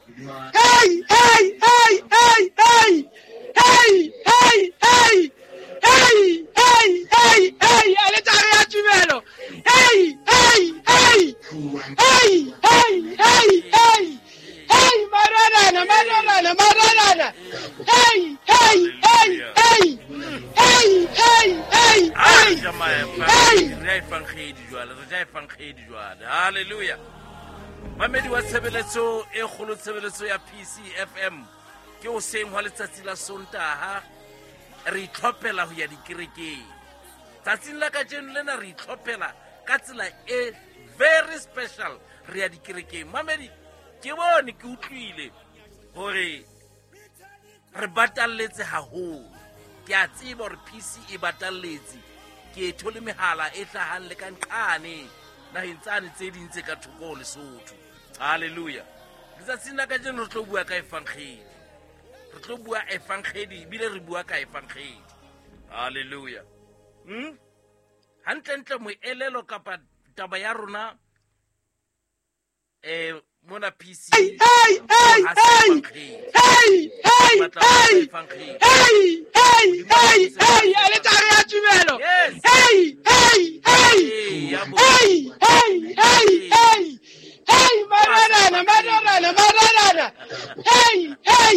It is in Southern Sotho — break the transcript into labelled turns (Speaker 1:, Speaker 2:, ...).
Speaker 1: Hey, hey, hey, hey, hey. Hey, hey, hey. Hey, hey, hey, hey. Aletare ya tumelo. Hey, hey, hey. Hey, hey, hey, hey. Hey, madodana, madodana, madodana. Hey, hey, hey, hey. Hey, hey, hey, hey. Hey.
Speaker 2: Re ja efangedi jwale, re ja efangedi jwale. Hallelujah. Mamedi wa tshebeletso e kgolo, tshebeletso ya PCFM, ke hoseng hwa letsatsi la Sontaha, re itlhophela ho ya dikerekeng. Tsatsing la kajeno lena re itlhophela ka tsela e very special, re ya dikerekeng. Mamedi, ke bone, ke utlwile hore re batalletse haholo. Ke a tseba hore PC e batalletse. Ke e thole mehala e hlahang le ka nqane naheng tsane tse ding tse ka thoko ho Lesotho. Hallelujah. Letsatsing la kajeno re tlo bua ka evangeli. Re tlo bua evangeli ebile re bua ka evangeli. Hallelujah. Hantlentle moelelo kapa taba ya rona mona PC.
Speaker 1: Hey, hey, hey, hey. Hey, hey, hey. Hey, hey, hey, hey. Aletare ya tumelo.
Speaker 2: Yes.
Speaker 1: Hey, hey, hey.
Speaker 2: Hey,
Speaker 1: Hey, hey, hey, hey. Hey, madodana, madodana, madodana. Hey, hey,